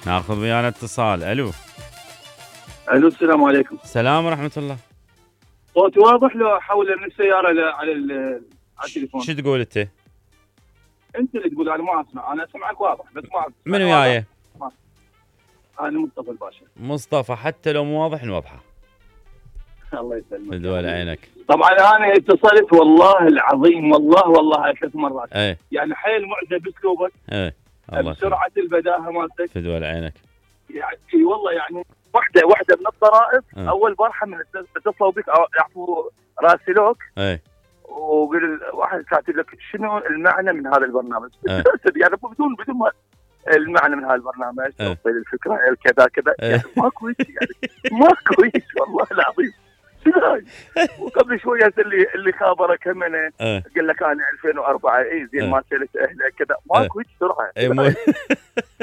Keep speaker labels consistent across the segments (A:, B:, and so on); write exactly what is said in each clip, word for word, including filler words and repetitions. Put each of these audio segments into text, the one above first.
A: ناخذ ويانا اتصال. الو
B: الو السلام عليكم.
A: السلام ورحمه الله.
B: صوتي واضح لو احول من السياره ل- على ال- على التليفون؟
A: شو تقول انت؟
B: انت اللي تقول، انا ما اسمع، انا اسمعك واضح بس ما
A: من وياي؟
B: انا مصطفى الباشا.
A: مصطفى، حتى لو مو واضح نوضحه.
B: الله يسلمك.
A: بدول عينك.
B: طبعا انا اتصلت والله العظيم، والله والله ثلاث مرات.
A: ايه
B: يعني حيل معجب باسلوبك،
A: ايه الله
B: بسرعه البداهه مالتك.
A: بدول عينك.
B: يعني اي والله، يعني واحده واحده من الطرائف.
A: اه.
B: اول بارحه من اتصلوا بك او يعطوا راسلوك
A: ايه
B: وقال واحد كاتب لك شنو المعنى من هذا البرنامج؟
A: اه.
B: يعني بدون بدون ما المعنى من هذا البرنامج،
A: اه.
B: توصيل الفكره كذا كذا.
A: اه.
B: يعني ماكو شيء، يعني ماكو شيء والله العظيم. شنو هاي؟ وقبل شويه اللي اللي خابرك همنا
A: اه.
B: قال لك انا ألفين وأربعة اي زين
A: اه.
B: ما سالت اهله كذا. ماكو هيك سرعه.
A: اي مو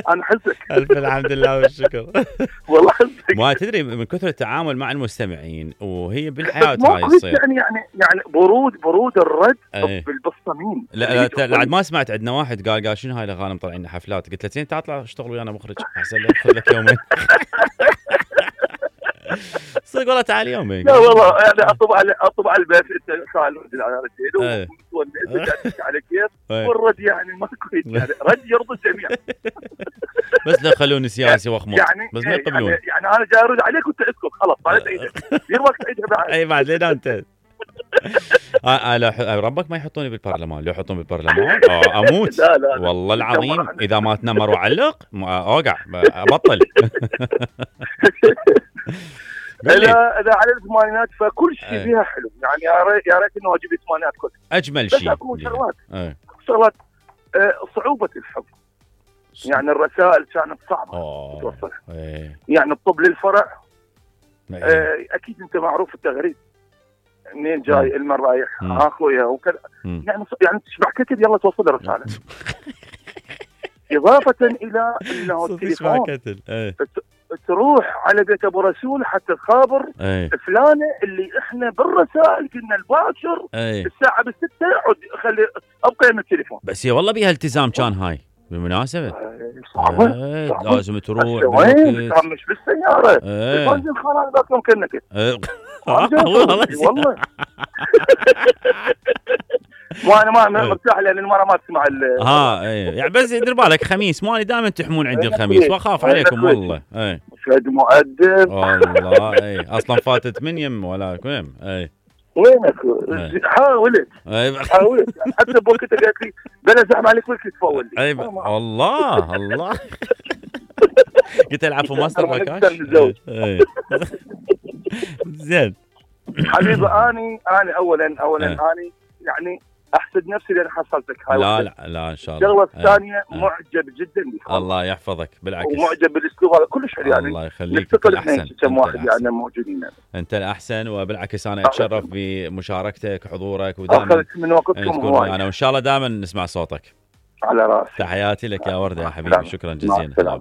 B: انا حزك.
A: الف الحمد لله والشكر.
B: والله حزك.
A: ما تدري من كثر التعامل مع المستمعين وهي بالحياه
B: بس
A: هاي
B: ماكو هيك
A: تصير.
B: يعني يعني يعني برود برود الرد
A: ايه.
B: بالصميم.
A: لا لا ت- بعد ما سمعت عندنا واحد قال قال شنو هاي الاغاني مطلعين لنا حفلات، قلت له زين تعال اطلع اشتغل ويانا مخرج احسن لك، خذ لك يومين. صدق والله تعال يومين.
B: لا والله يعني اطب على اطب على البيت انت خالد على رجل
A: ايه.
B: ومتونس على كيف.
A: ايه.
B: والرد يعني ماكو هيك، يعني رد يرضي الجميع.
A: بس لا خلوني سياسي واخمط،
B: يعني
A: بس ما
B: يعني,
A: يقبلون.
B: يعني انا جاي ارد عليك وانت اسكت خلاص طالت ايدك. دير وقت عيدها بعد.
A: اي بعد لين انت. آه آه لا ح- ربك ما يحطوني بالبرلمان، لو يحطوني بالبرلمان آه اموت.
B: لا لا لا.
A: والله العظيم اذا ما تنمر وعلق ما- اوقع ابطل. قل لي.
B: اذا اذا على الثمانينات فكل شيء
A: ايه.
B: فيها حلو، يعني يا ريت يا ريت انه اجيب الثمانينات كلها.
A: اجمل
B: بس
A: شيء.
B: اكو شغلات
A: ايه.
B: شغلات آه، صعوبه الحب. يعني الرسائل كانت صعبه
A: اوه
B: توصلها.
A: ايه.
B: يعني الطب للفرع
A: ايه.
B: آه، اكيد انت معروف التغريد منين جاي المن رايح
A: مم.
B: ها اخويا وكذا.
A: مم.
B: يعني يعني تشبع كتب يلا توصل الرساله. اضافه الى انه
A: صدق اسمع
B: التليفون
A: كتل. ايه.
B: تروح على بيت ابو رسول حتى تخابر
A: ايه.
B: فلانه اللي احنا بالرسائل قلنا الباكر
A: ايه.
B: الساعه بالستة عد خلي ابقى يم التليفون.
A: بس هي والله بيها التزام كان هاي بالمناسبه.
B: آه، صعبه
A: ايه.
B: صعبة.
A: لازم تروح
B: وين
A: بالوقت.
B: كان مش بالسياره
A: ايه.
B: البنزين خلاص ذاك يوم كنا كده.
A: ايه.
B: والله والله ما انا ما أنا مرتاح لان المره ما تسمع ال
A: ها ايه يعني بس دير بالك خميس مالي دائما تحمون عندي الخميس واخاف عليكم والله. ايه
B: فهد مؤدب
A: والله ايه اصلا فاتت من يم ولا وين. ايه
B: وينك؟
A: ايه.
B: حاولت
A: ايه.
B: حاولت يعني حتى بوقتها قالت لي بلا زعم عليك وقت تفول لي.
A: ايه والله الله. قلت العفو ماستر
B: أنا
A: باكاش.
B: نتزوج.
A: ايه زين
B: حبيبي اني انا اولا اولا
A: ايه.
B: اني يعني احسد نفسي لان حصلتك هاي
A: لا
B: واحدة.
A: لا لا ان شاء الله.
B: الشغله الثانيه
A: ايه.
B: معجب جدا بك
A: الله يحفظك بالعكس.
B: ومعجب بالاسلوب هذا كلش حلو يعني.
A: الله يخليك.
B: نفتقد
A: انت
B: احنا
A: الاحسن.
B: كم
A: انت
B: واحد
A: الأحسن.
B: يعني موجودين يعني.
A: انت الاحسن وبالعكس انا اتشرف بمشاركتك وحضورك ودائما
B: اخذت من وقتكم
A: تكون
B: هواي
A: معنا وان شاء الله دائما نسمع صوتك.
B: على راسي.
A: تحياتي لك يا ورده يا
B: مع
A: حبيبي.
B: السلامة.
A: شكرا
B: مع
A: جزيلا.
B: السلامة.